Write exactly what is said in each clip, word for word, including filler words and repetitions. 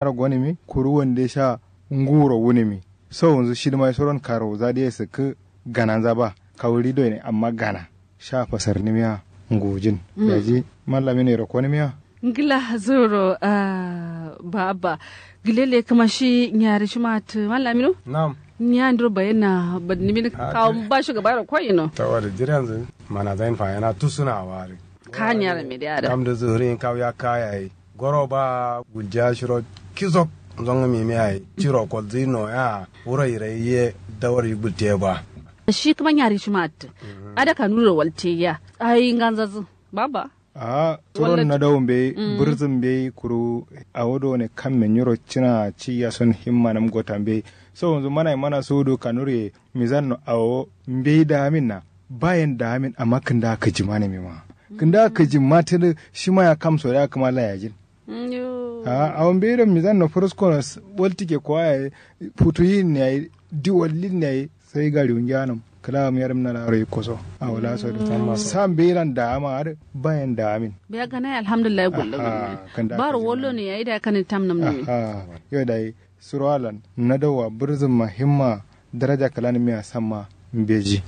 Aro gonǝmi kuru wande sha nguro wunǝmi. Sowonzǝ shidǝma soron karo zadiye sǝkkǝ gananza ba kawuri doyine amma gana sha fasarnimiya ngujin. Daji mallamino yero konimiya. Ngla zoro. Ba abba gilele kǝma shi nyari shima tǝ mallamino. Nam. Nya ndiro bayenna badnimin kawo ba shugaba yero koyino. Tawada jiri yanzǝ mana zain fayana tusuna wari. Ka nyara me de ada. Kam da zuri kaw ya kaya yi goro ba gulja shiro kizok. Zongo mimi ayi ciro kolzi no ya wuro irai ye dawar yi gulte ba. Shi kuma nyari shi ma attu. Ada kanuri ro walte ya ayi nganzazu baba. Aha. Suron na dawo mbeyi birzin mbeyi kuru. Awo do ne kamme nyiro cina ci ya son himma nam gota mbeyi. Sowonzu mana mana sudu kanuri mizan no awo mbeyi da amin na. Bayen da amin amma kǝnda kǝjima ne mima kǝnda kǝjima tǝdǝ. Shima ya kamso da kǝma layajin. Aha awo mbeyi do mizan no fǝrǝsko no waltike kowa yayi. Futuyin ne yayi diwallin ne yayi. Sai gari wungiya nam kǝla am yarim na laro yikko so. Awo laso dǝ sam mbeyi lan da ama adǝ. Bayen da amin. Biya gana ya alhamdulillah gullo. Baro wallo ne yayi da kanin tam nam ne. Yo dayi. Suro alan na dawa bǝrzǝmma himma daraja kǝlanǝmiya samma mbeji.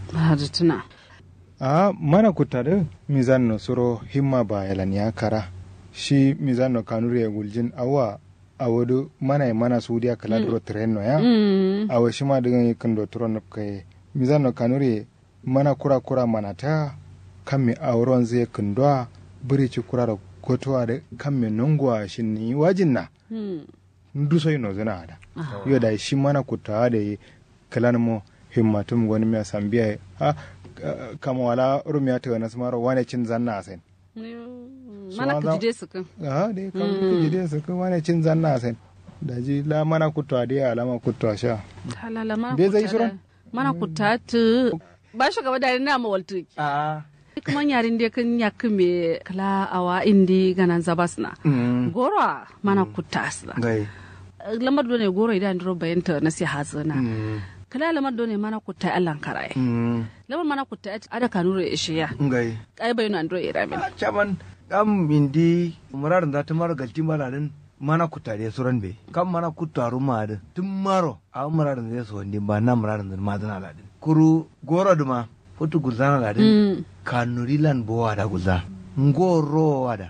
Aha mana kutta dǝ mizan no suro himma bayelan ya kara. Shi mizan no kanuri ye guljin awa. Awo dǝ mana ye mana sudiya kǝla duro tǝren no ya. Awo shima dǝ gǝn yikkǝn do turo nǝpkaye. Mizan no kanuri ye mana kura kura mana ta. Kamme awo ronzǝ ye kǝndowa bǝri ci kura ro gotowa dǝ kamme nongowa shinni wajin na. Ndu soi nozǝna ada. Yo dayi shi mana kutta adǝ ye kǝlan mo himmatum gonǝmiya sambiya ye. Kamo wala rumiya tǝgana sǝmaro wane cin zanna asen. Mana kǝjide sǝkkǝ. Aha dai kam kǝjide sǝkkǝ wane cin zanna asen. Daji la mana kutta dai alama kutta sha. Dai zai suron. Mana kutta tǝ. Ba shugaba dari na mawaltu. Aha. Kuma nyari nde kǝn nyakkǝ me kǝla awa indi ganan zabasna. Goro a mana kutta asna. Lamar done goro ida ndiro bayanta nasi hazǝna. Kǝla lamar done mana kutta allan karaye. Lamar mana kutta ada kanuro ishiya. Ai bayino andiro iramin. Caman kam indi muradin za tǝmaro galti mana din. Mana kutta de suran be kam mana kutta ruma adǝ tǝmmaro. Awo muradǝnzǝ ye sowandin ba na muradǝnzǝ dǝ madǝna ladǝn kuru goro dǝma. Futu gulzana ladǝn. Kanuri lan bowa da gulza. Ngoro wa da.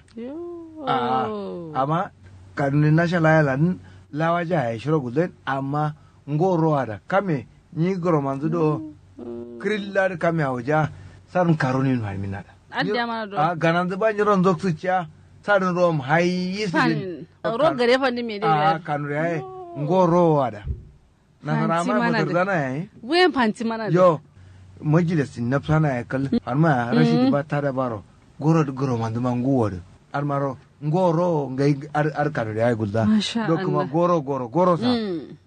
A'a amma kanuri nasha laya ladǝn. Lawaja yayi shiro gulzain amma ngoro wa da kame nyi goromanzǝ do. Kǝrilla dǝ kame awuja. Sarǝn karunin fanimin na da. Adda mana do. A'a gananzǝ ba nyiro nzok sǝcciya. Sarǝn rom hayi sǝdin. Ro gare fandin me de. A'a kanuri yayi ngoro wa da. Nasara ma batarzana yayi. Wuyen fanti mana yo. Majilis nafsana yayi kal. Fanma ya rashidi ba tada baro. Goro dǝ goro manduma nguwo dǝ. Armaro ngoro ngai. Ar kano dǝ yayi gulza. Do kuma goro goro goro sa.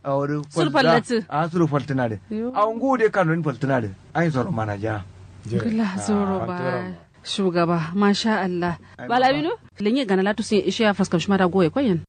Awo dǝ suru fallatǝ. A suru faltǝna dǝ. Awo nguwo dǝ kano dǝ faltǝna dǝ. Ayin soro mana ja. Gula zoro ba. Shugaba masha allah. Bala wino. Lenye gana latu sun ishe ya faskam shima da goye koyen.